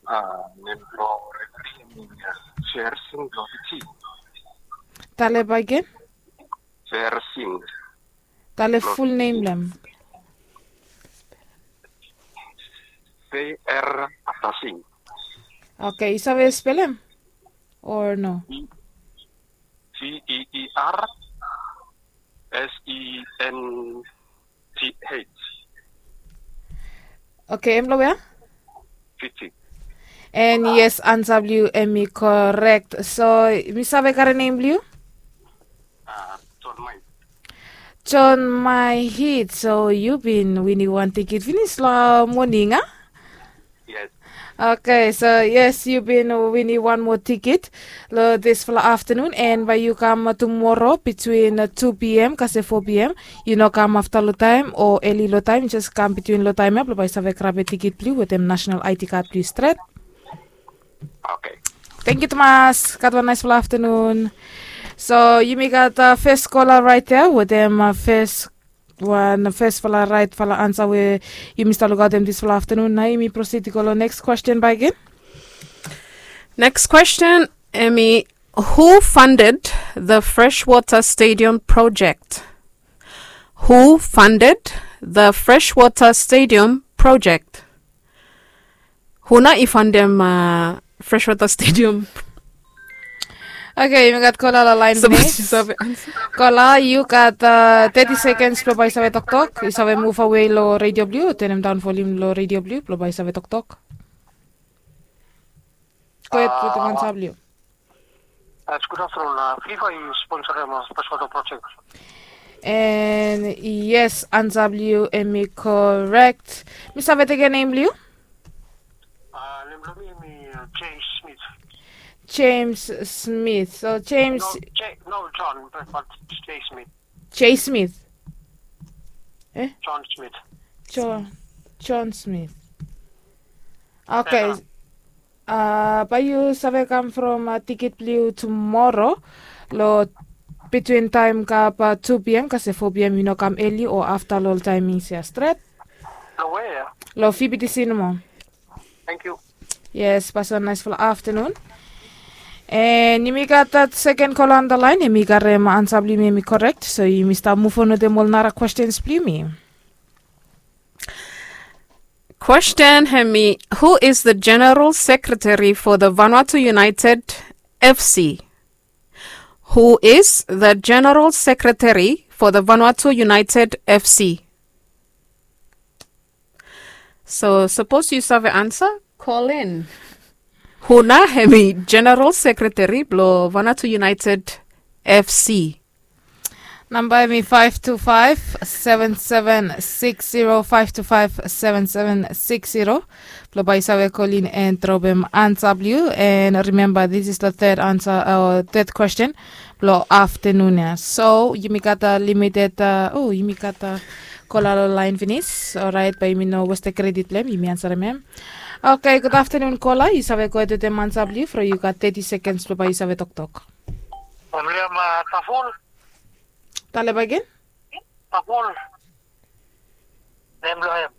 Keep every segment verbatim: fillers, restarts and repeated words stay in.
Ah, nem blong refri em Fersing blong Fiji. Tale bakegen. Fersing. Tale ful nem blong hem. F R afta Sing. Oke, yu save spelem? Or no? F E R S E N T H. Oke, em long wea? Fiji. And yes, ansa blong yu em i korek. So mi save karem nem blong yu? John Maihit. So yu bin winim wan tikit finis long moning, a? Yes. Oke, so yes, yu bin winim wan moa tikit long disfala aftanun, and bae yu kam tumora bitwin tu pm kasem fo pm. Yu no kam afta long taem o eli long taem, jes kam bitwin long taem ya blong bae yu save grabem tikit blong yu wetem nasenal I D kad blong yu stret. Oke. Tangkiu tumas. Gat wan naesfala aftanun. So yumi gat fes kola raet ya wetem fes wan fesfala raetfala ansa we yumi stap lukaotem disfala aftanun. Nao yumi prosid i go long neks kwesten bakegen. Neks kwesten, hemi, who funded the freshwater stadium project? Who funded the freshwater stadium project? Hu nao i fandem freshwater stadium? Oke, yumi gat kola long laen. Kola, yu gat teti sekens blong bae yu save toktok. Yu save muv awe long redio blong yu, tenem daon volium long redio blong yu blong bae yu save toktok. Go ahed wetem ansa blong yu. Yes, gud aftanun. Fiva i sponsorem freshwater project. And yes, ansa blong yu hemi korek. Mi save tekem nem blong yu? Nem blong mi hemi James Smith. James Smith. So James. No, John, but James Smith. James Smith. John Smith. John Smith. Oke. Bae yu save kam from tikit blong yu tumora long bitwin taem gat tu pm kasem fo pm. Yu no kam eli o afta long ol taemings ya stret. Long wea? Long V B T C nomo. Tangkiu. Yes, pasin, naesfala aftanun. And yumi gat dat seken kola on da laen, hemi karem ansa blong yumi hemi korek. So yumi stap muv on wetem ol nara kwestens blong yumi. Kwesten hemi, who is the general secretary for the Vanuatu United F C? Who is the general secretary for the Vanuatu United F C? So sapos yu save ansa, kol in. Hu nao hemi general sekreteri blong Vanuatu United F C? Namba hemi five two five, seven seven six zero, five two five, seven seven six zero. Blong bae yu save kol in and dropem ansa blong yu. And remember, this is the third answer, uh, third question blong aftanun ya. So yumi gat limited, uh, oh, yumi gat kola long laen finis. Orait, bae yumi no westem kredit blong hem, yumi ansarem hem. Oke, gud aftanun kola, yu save gohed wetem ansa blong yu, from yu gat teti sekens blong bae yu save toktok. William, uh, Taful. Tale bakegen. Taful. Nem blong hem.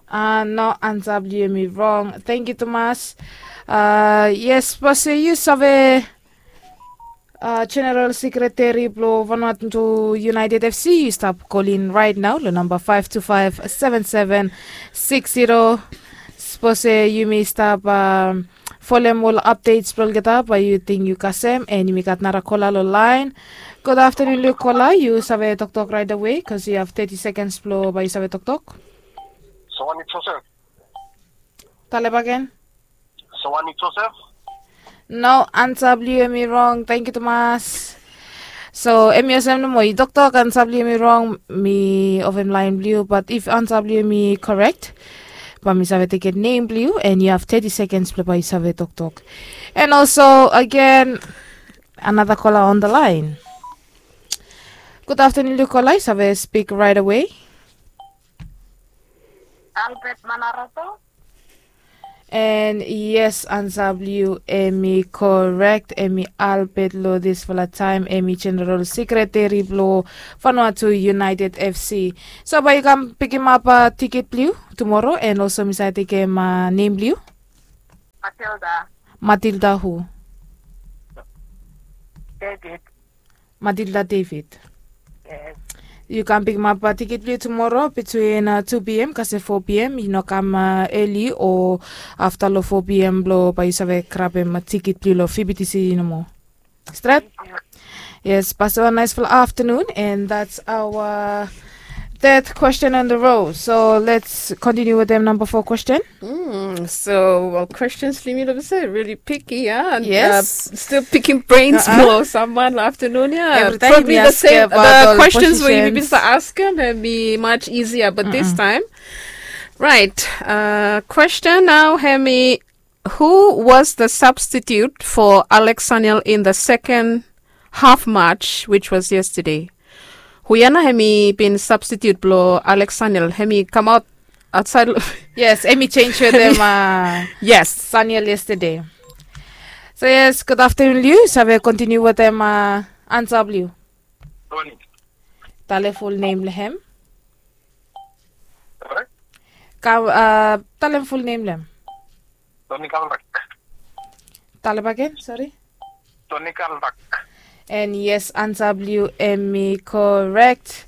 Ah, no, ansa blong yu hemi rong. Tangkiu tumas. Ah, yes, sapos yu save, ah, general sekreteri blong Vanuatu United F C, yu stap kol in raet nao long namba five two five, seven seven six zero. Sapos yumi stap, ah, folem ol apdets blong olgeta, bae yu ting yu kasem, and yumi gat nara kola long laen. Gud aftanun long yu kola, yu save toktok raet awe, bikos yu have teti sekens blong bae yu save toktok. Sawani Joseph. Tale bakegen. Sawani Joseph. No, ansa blong yu hemi rong. Tangkiu tumas. So hemi olsem nomo, yu toktok ansa blong yu hemi rong, mi ovem laen blong yu, bat if ansa blong yu hemi korek, bae mi save tekem nem blong yu, and yu have teti sekens blong bae yu save toktok. And also, again, another kola on da laen. Gud aftanun long yu kola, yu save spik raet awe. Albert Manarato. And yes, ansa blong yu hemi korek, hemi Albert long disfala taem, hemi general sekreteri blong Vanuatu United F C. So bae yu kam pikimap, ah, tiket blong yu tumora, and also mi save tekem, ah, nem blong yu. Ah, Matilda. Matilda who? David. Matilda David. Yes. Yu kam pikimap tikit blong yu tumoro bitwin uh, two p m kasem four p m. Yu no kam uh, eli o afta long four p m blong bae yu save grabem uh, tikit blong yu long V B T C nomo. Stret? Yes, pass wan nice afternoon, and that's our third question on the row. So let's continue with them number four question. Mm, so, well, questions for me, let me say, really picky, yeah? And, Yes. uh, still picking brains Uh-uh. for someone afternoon, yeah. Every time Probably you the ask same, about the all questions where you positions. Bisa ask them, it'd be much easier, but this Mm-mm. time, right. Uh, question now, Hemi. Who was the substitute for Alex Sanyal in the second half match, which was yesterday? Hu ia nao hemi bin substitute blong Alex Sanyal, hemi kamaot aotsaed. Yes, hemi change wetem uh, Yes. Sanyal yesterday. So yes, good afternoon blong yu. Save continue wetem uh, ansa blong yu. Tony. Talem full name blong hem. Sorry? Ka, uh, talem full name blong hem. Tony Kalrak. Talem again, sorry. Tony Kalrak. And yes, ansa blong yu hemi correct.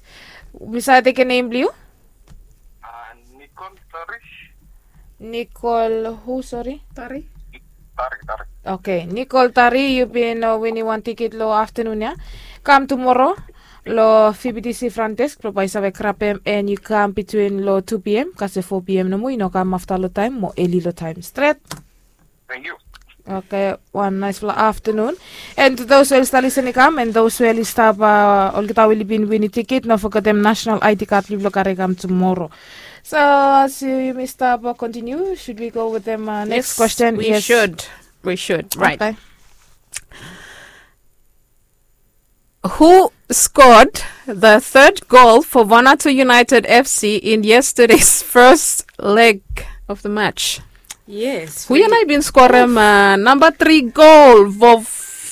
Mi save tekem name blong yu? Uh, Nicole Tarish. Nicole who, sorry? Tari. Tari, Tari. Okay, Nicole Tari, yu bin uh, winim wan tikit long afternoon ya. Kam tumoro long V B T C front desk blong bae yu save grabem, and yu kam bitwin long two p m kasem four p m nomo, yu no kam afta long taem mo eli long taem. Stret? Thank you. Okay, wan nice afternoon. And to those who are still listening kam, and those who are stap uh, olgeta we oli bin winim tikit, no fogetem national I D card blong yu blong karem kam tumoro. So as yu, yumi stap uh, continue, should we go wetem uh, next Yes, question? we Yes. should. We should. Right. Okay. Who scored the third goal for Vanuatu United F C in yesterday's first leg of the match? Yes. Hu ia nao i bin skorem uh, number three goal for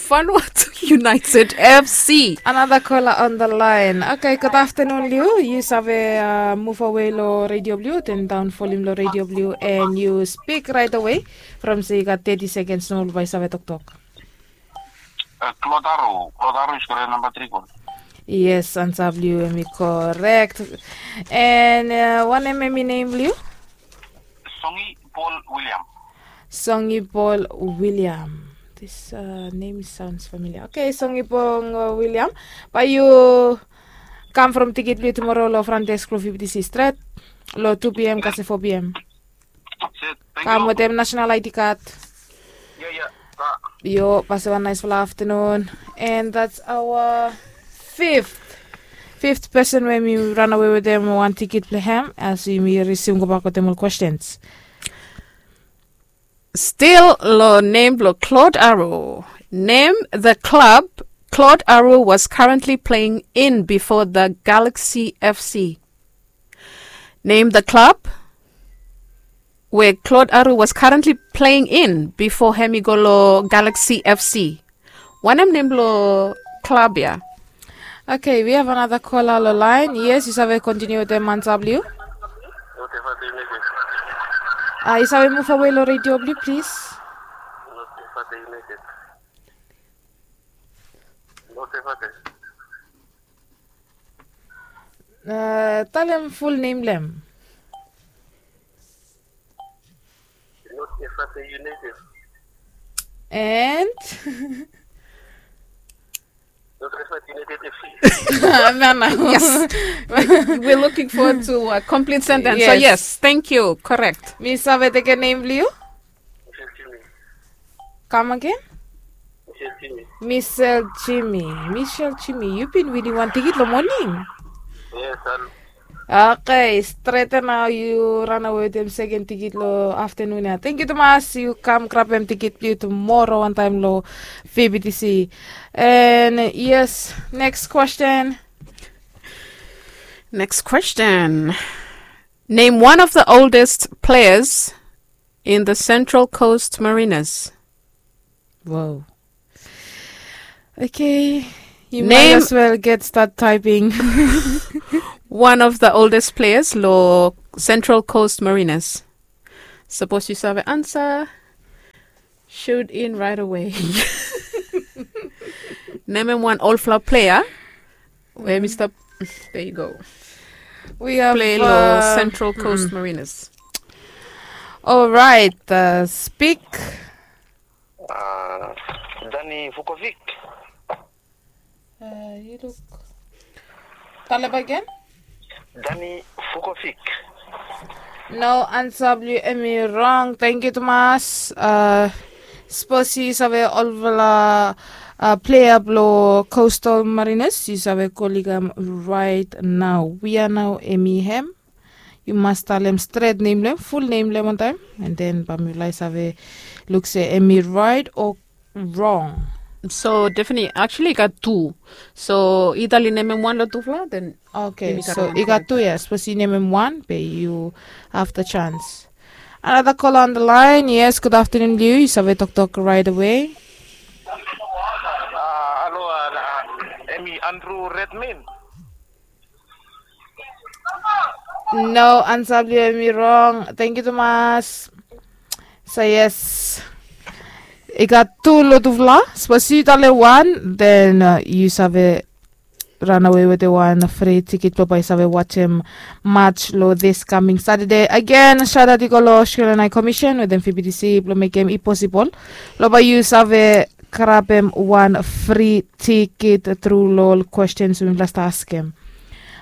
Vanuatu United F C. Another caller on the line. Okay, good afternoon blong yu. Yu save uh, move away long radio blong yu, turn down volume long radio blong yu, and yu speak right away from se yu gat thirty seconds nomo blong bae yu save toktok. Uh, Klotaro, Klotaro i skorem number three goal. Yes, ansa blong yu hemi correct. And uh, wanem hemi name blong yu? Songi Paul William. Songi Paul William. This uh, name sounds familiar. Okay, Songi Paul uh, William. Bae yu kam from tikit blong yu tumoro long front desk blong V B T C stret long two p m kasem four p m. That's it. Thank Kam you. wetem national I D card. Yeah, yeah. Ka. Yo, pass wan nice afternoon. And that's our fifth. Fifth person we mi run away wetem wan tikit blong hem as yumi resume gobak wetem ol questions. Still long name blong Claude Arrow. Name the club Claude Arrow was currently playing in before the Galaxy F C. Name the club where Claude Arrow was currently playing in before hemi go long Galaxy F C. Wanem name blong club ya? Okay, we have another caller long line. Yes, yu save continue wetem ansa blong yu. Lote Fate United. Uh, yu save move away long radio blong yu, please. Lote Fate United. Lote Fate. Uh, talem full name blong hem. Lote Fate United. And Lote Fate United F C. No, no. Yes. We're looking forward to a complete sentence. So Yes. yes, thank you. Correct. Mi save tekem name blong yu? Michel Jimmy. Come again? Michel Jimmy. Michel Jimmy. Michel Jimmy. Yu bin winim wan tikit long moning. Yes, and Okay, straight nao yu run away wetem second tikit long afternoon ya. Thank you tumas, yu kam grabem tikit blong yu tumoro wantaem long V B T C. And yes, next question. Next question. Name one of the oldest players in the Central Coast Mariners. Wow. Okay. You might Name as well get start typing. One of the oldest players long Central Coast Mariners. Sapos yu save ansa, Tune in right away. Nemem wan olfala plea we mi stap, there you go, we have play lo uh, Central Coast Mariners. Alright, uh, speak. Uh, Dani Vukovic. Uh, you look. Talem back again. Dani Vukovic. No, ansa blong yu hemi rong. Thank you tumas. Uh, sipos yu save olfala uh, plea blong Coastal Mariners, yu save kolim hem right nao. We are now hemi hem. Yu mas talem stret nem blong hem, ful nem blong hem wantaem, and then bae mifala i save luk se hemi right o rong. So definitely, actually i gat tu. So either oli nemem wan lo tufala, then okay, so i gat tu ya. Sipos yu nemem wan, be yu have the chance. Another caller on the line. Yes, good afternoon blong yu. Yu save toktok right away. Ah, hello, ah, hemi Andrew Redmayne. No, ansa blong yu hemi rong. Thank you tumas. So yes, i gat tu lo tufala. Sipos yu talem wan, then uh, yu save ranawe wetem wan fri tikit blong bae yu save wajem match lo this coming Saturday. Again, shout out i go lo Australian High Commission wetem F B T C blong mekem i posibol lo bae yu save grabem wan fri tikit tru lo ol questions we mifala stap askem.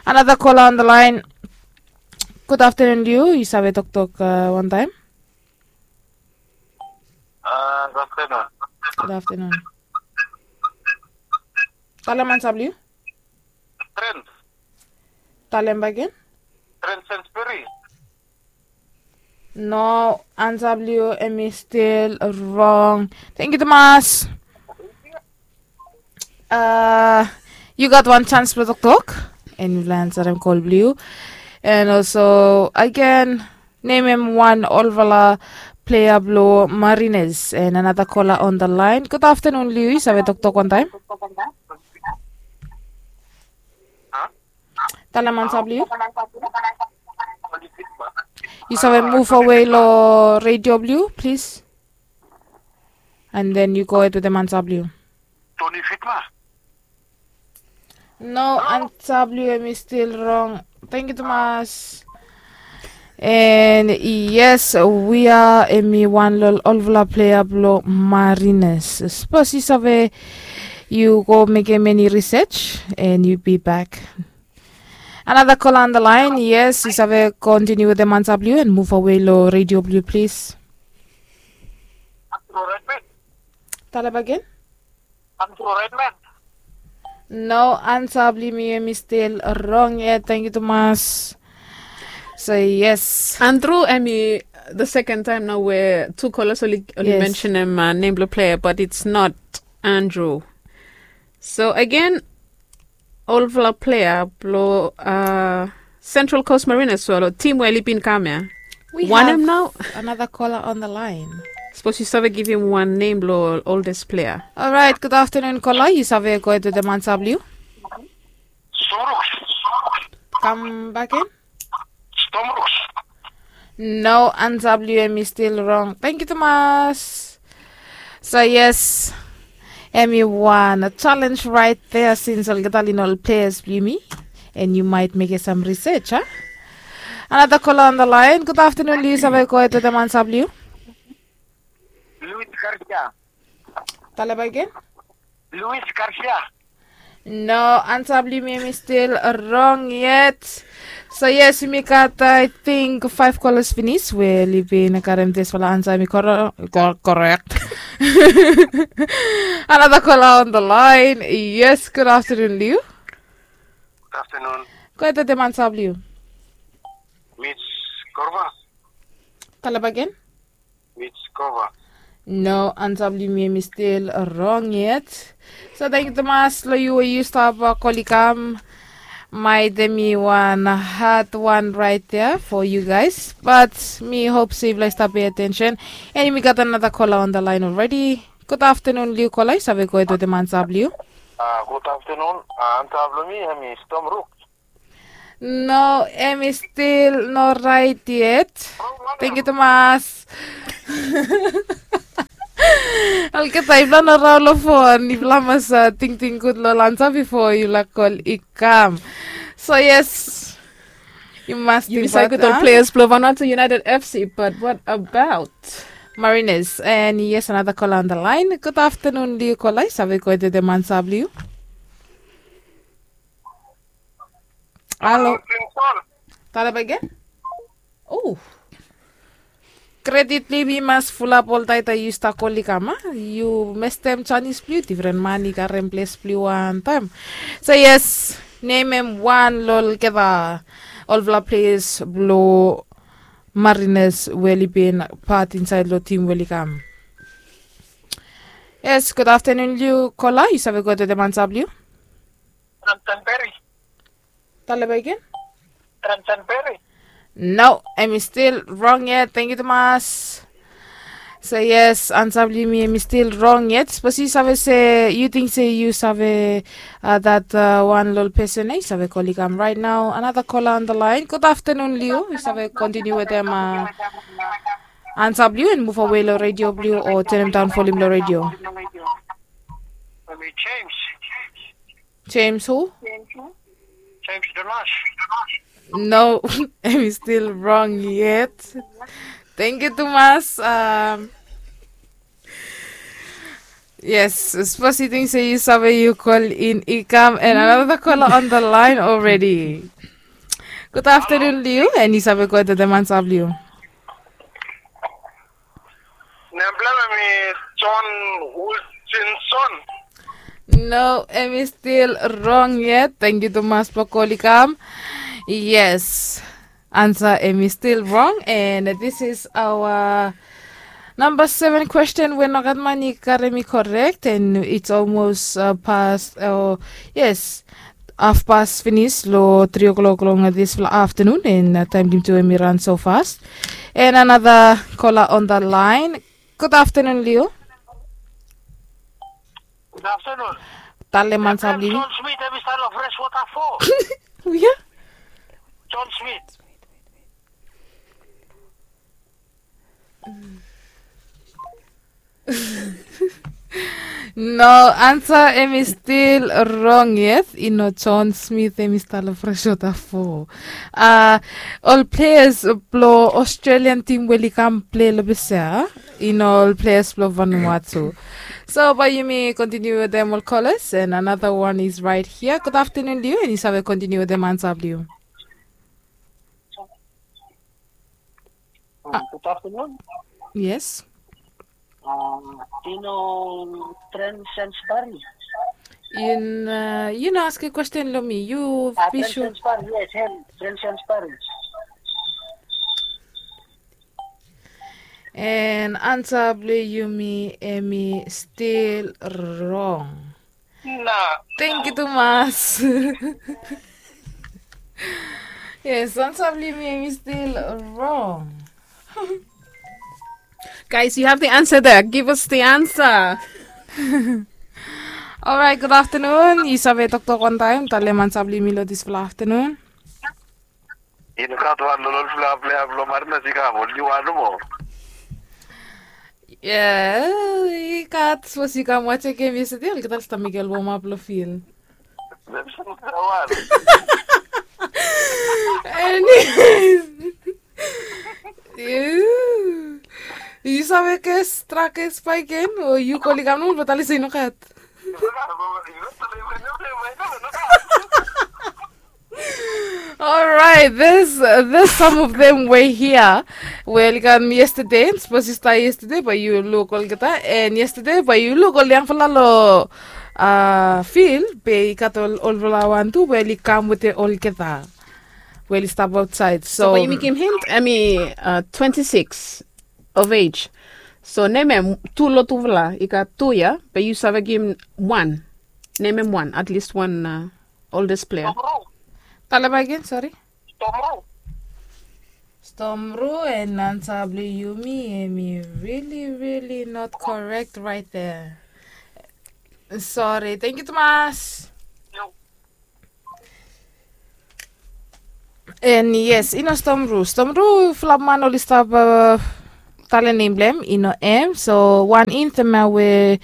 Another caller on the line. Good afternoon blong yu. Yu save toktok uh, wantaem. Ah, good afternoon. Good afternoon. Talem ansa blong yu. Trent. Talem bae again. Trent Sainsbury. No, ansa blong yu hemi stil rong. Thank you tumas. Uh, yu gat wan chance blong toktok, and mifala ansarem kol blong yu. And also again, nemem wan olfala plea blong Mariners. And another caller on the line. Good afternoon blong yu. Yu save toktok wantaem. Talem ansa blong yu. Yu save muv awe lo radio blong yu, plis. And then yu gohed wetem ansa blong yu. Tony Fitma. No, ansa blong yu hemi stil rong. Thank you tumas. And yes, we are hemi wan lo olfala plea blong Mariners. Sipos yu save, yu go mekem eni research and yu be back. Another caller on the line. Yes, yu save kontiniu wetem ansa blong yu and muv awe lo radio blong yu, plis. Talem bae again. No, ansa blong yu hemi stil rong yet. Thank you tumas. So yes, Andrew, hemi the second time nao we tu callers oli, oli mentionem uh, nem blong plea, but it's not Andrew. So again, olfala plea blong uh, Central Coast Mariners, so tim we oli bin kam ya. Wanem nao? Another caller on the line. Sipos yu save givim wan nem blong oldest plea. Alright, good afternoon caller. Yu save gohed wetem ansa blong yu. Storm Rooks. Kam back again. Storm Rooks. No, ansa blong yu hemi stil rong. Thank you tumas. So yes, hemi wan challenge right there, since olgeta oli no ol pleas blong yumi. And yu maet mekem sam research, a? Another caller on the line. Good afternoon blong yu. Yu save gohed wetem ansa blong yu. Luis Garcia. Talem bae again. Luis Garcia. No, ansa blong yumi hemi stil rong yet. So yes, yumi gat, I think, five callers finis we oli bin karem disfala ansa hemi kore-, kor-, korek. Another caller on the line. Yes, good afternoon blong yu. Good afternoon. Gohed wetem ansa blong yu. Mitch Korva. Talem bae again. Mitch Korva. No, ansa blong yumi hemi stil rong yet. So thank you tumas lo yu we yu stap kol i kam. Maet hemi wan had wan right there for you guys. But mi hop se yufala i stap pay attention. And yumi gat another caller on the line already. Good afternoon blong yu caller, yu save gohed wetem ansa blong yu. Ah, good afternoon. Ah, ansa blong mi hemi Storm Rooks. No, hemi stil no raet yet. Thank you tumas. Olgeta yufala no raon long fon, yufala mas tingting gud long ol ansa bifo yufala kol i kam. So yes, yu mas tingbaot ol players blong Vanuatu United F C, but what about Mariners? And yes, another caller on the line. Good afternoon, Liu Kola. Yu save go wetem ansa blong yu. Halo. Talem back gen. O. Kredit blong yumi mas fulap oltaem yu stap kol i kam, a? Yu mestem janis blong yu, difren man i karem ples blong yu wantaem. So yes, nemem wan long olgeta olfala players blong Mariners we oli bin pat insaed long tim we oli kam. Yes, good afternoon, Liu Kola. Yu save go wetem ansa blong yu. Ramtan Berry. Talem back gen. Ramtan Berry. No, hemi stil rong yet. Tangkiu tumas. So yes, ansa blong yumi hemi stil rong yet. Sapos yu save se, yu ting se yu save dat wan long ol pesen ya, yu save kol i kam right now. Another caller on the line. Good afternoon, Liu. Yu save kontiniu wetem ansa blong yu and muv awe long redio blong yu o tanem daon volim long redio. James. James who? James Donash. No, hemi stil rong yet. Tangkiu tumas. Yes, sapos yu ting se yu save, yu kol in i kam, and another caller on the line already. Good afternoon, Liu, and yu save go wetem ansa blong yu. Nem blong hem hemi John Hutchinson. No, hemi stil rong yet. Tangkiu tumas blong kol i kam. Yes, ansa hemi stil rong, and this is our namba seven kwesten we nogat man i karem i korek, and it's almost pas, o yes, hafpas finis long tri o'clock long disfala aftenun, and taem blong yumi tu hemi ran so fas. And another caller on the line. Good afternoon, Liu. Good afternoon. Talem ansa blong yu. John Smith, hemi stap long Freshwater fo. Wia? John Smith. No, ansa hemi stil rong yet. I no John Smith hemi stap long Freshwater fo. A, ol players blong Australian tim we oli kam plei long ples ya, i no ol players blong Vanuatu. So bae yumi kontiniu wetem ol callers, and another one is right here. Good afternoon, Liu, and yu save kontiniu wetem ansa blong yu. Good afternoon. Yes. Yu no, Trent Sainsbury. Yu no askem kwesten long mi. Yu, Trent Sainsbury, yes, hem, Trent Sainsbury. And ansa blong yumi hemi stil rong. Tangkiu tumas. Yes, ansa blong yumi hemi stil rong. Guys, you have the answer there. Give us the answer. Alright, good afternoon. Yu save toktok wantaem, talem ansa blong yumi long disfala aftenun. I no gat wan long olfala plea blong Mariners i kam, oli wan nomo. Ia, i gat, sapos yu kam wajem gem yestede, olgeta oli stap mekem ol womap long fil. Anyways. Yu save kes, tra kes bae gen, o yu kol i kam nomo, bae oli talem se i no gat. Alright, there's, there's some of them we here. We oli kam yestede, sapos yu stap yestede bae yu luk olgeta, and yestede bae yu luk ol yangfala long fil, be i gat ol olfala wan tu we oli kam wetem olgeta we oli stap aotsaed. So bae yumi givim hint, hemi twenty-six of age. So nemem tu long tufala, i gat tu ya, be yu save givim wan. Nemem wan, at least wan oldest player. Talem bae gen, sori. Storm Roux. Storm Roux, and ansa blong yumi hemi really, really not correct right there. Sori, tangkiu tumas. And yes, i no Storm Roux. Storm Roux, fulap man oli stap Tale nem blong hem i no hem. So wan infoma we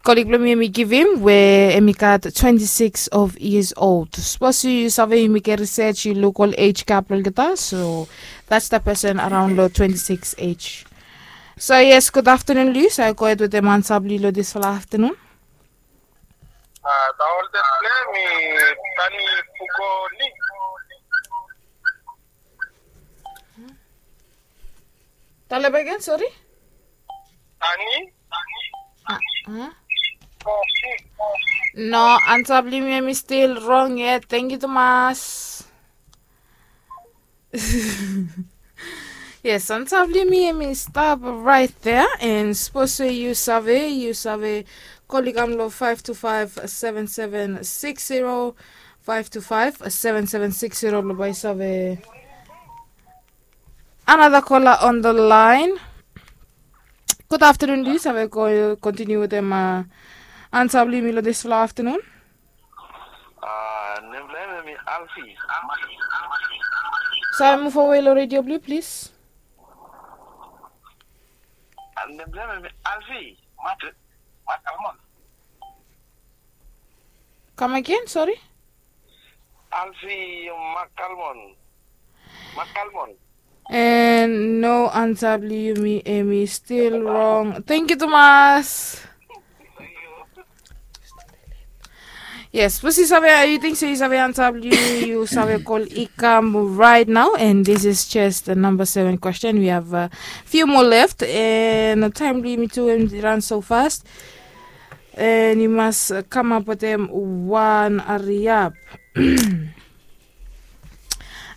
kolik blong mi hem i givim we hem i gat twenti sikis of yias old. Sapos yu save yumi get risej yu luk ol ej gap blong olgeta, so that's the person araon long twenti sikis ej. So yes, gud aftanun long yu. So yu go hed wetem ansa blong yu long disfala aftanun. Taol de blong hem i Tani Pukoli. Tale bakegen, sori. Tani. No, ansa blong yumi hem i stil rong yet. Tangkiu tumas. Yes, ansa blong yumi hem i stap raet dea. And sapos we yu save, yu save kolik kam long five two five seven seven six zero, five two five seven seven six zero blong bae yu save. Another caller on the line. Gud aftanun, yu save kontiniu wetem ansa blong yumi long disfala aftanun. Nem blong hem hem i Alfi. Save muv awe long redio blong yu, plis. Nem blong hem hem i Alfi. Mat, Mat Almon. Kam agen, sori. Alfi Makalmon. Makalmon. And no, ansa blong yumi hem i stil rong. Tangkiu tumas. Yes, sapos yu save, yu ting se yu save ansa blong yu, yu save kol i kam raet nao. And this is just the number seven question. We have a few more left. And taem blong yumi tu hem i ran so fast. And yu mas kamap wetem wan hariap.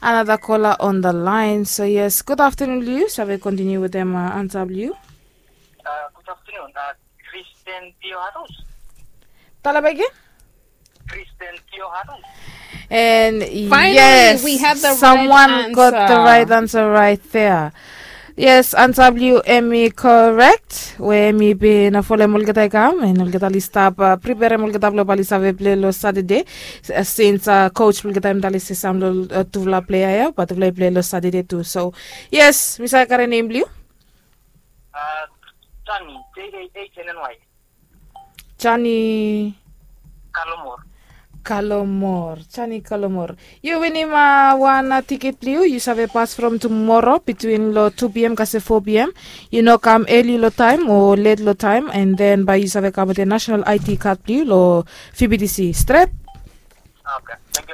Another caller on the line. So yes, gud aftanun long yu. Save kontiniu wetem ansa blong yu. Gud aftanun. Kristen Tio Harus. Tale bakegen. Kristen Tio Harus. And yes, someone got the right answer right there. Yes, ansa blong yu hem i korek. We hem i bin folem olgeta i kam and olgeta oli stap priperem olgeta blong bae oli save plei long Satade. Sins coach blong olgeta hem tale se sam long tufala plea ya bae tufala i plei long Satade tu. So yes, mi save karem nem blong yu. Jani, J A H N N Y. Jani Kalomor. Kalomor, Jani Kalomor. Yu winim wan tiket blong yu. Yu save pas from tumora bitwin long tu P M kasem fo P M. Yu no kam eli long taem o let long taem, and then bae yu save kam wetem national I D card blong yu long F B T C. Stret.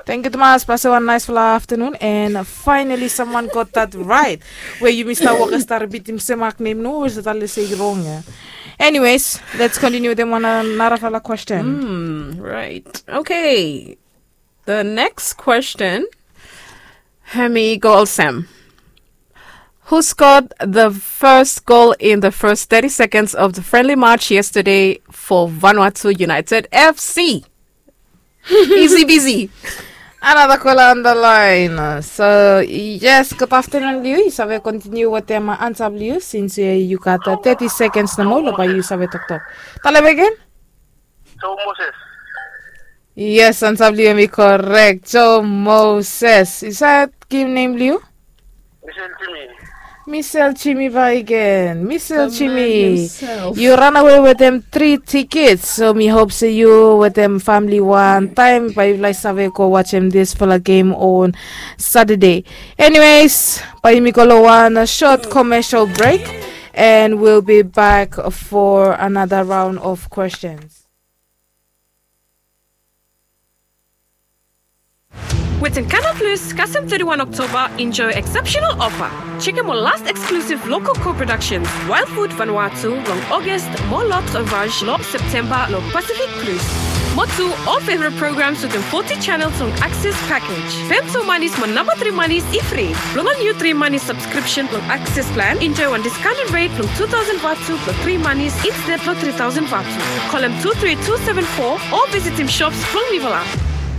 Tangkiu tumas, pasem wan naesfala aftanun. And finally someone got that right. We yumi stap wok, stap ripitim sem mak nem nomo we stap tale se i rong ya. Anyways, let's continue wetem wan narafala question. Right. Okay. The next question hem i go olsem. Who scored the first goal in the first thirty seconds of the friendly match yesterday for Vanuatu United F C? Easy peasy. Another caller on the line. So yes, gud aftanun long yu. Yu save kontiniu wetem ansa blong yu sins yu gat thirty seconds nomo long bae yu save toktok. Tale bakegen. Joe Moses. Yes, ansa blong yu hem i korek. Joe Moses. Yu save givim nem blong yu? Misel Jimi. Misel Jimi bakegen. Misel Jimi. Yu ranawe wetem tri tikets. So mi hop se yu wetem famili wan taem bae yufala i save go wajem disfala gem on Satade. Anyways, bae yumi go long wan sot commercial break, and we'll be back for another round of questions. Wetin Canal Plus kasem thirty-one October, enjoy exceptional offer. Chekem ol last exclusive local co-productions, Wild Food Vanuatu long August, mo L'Autre Vache long September long Pacific Plus. Mo tu ol favorite programs wetem forty channels long Access package. Pem tu manis mo namba tri manis i fri. Blong ol niu tri manis subscription long Access plan, enjoy wan discounted rate blong two thousand vatu blong tri manis instead long three thousand vatu. Kolem two three two seven four o visitim shops blong Nivala.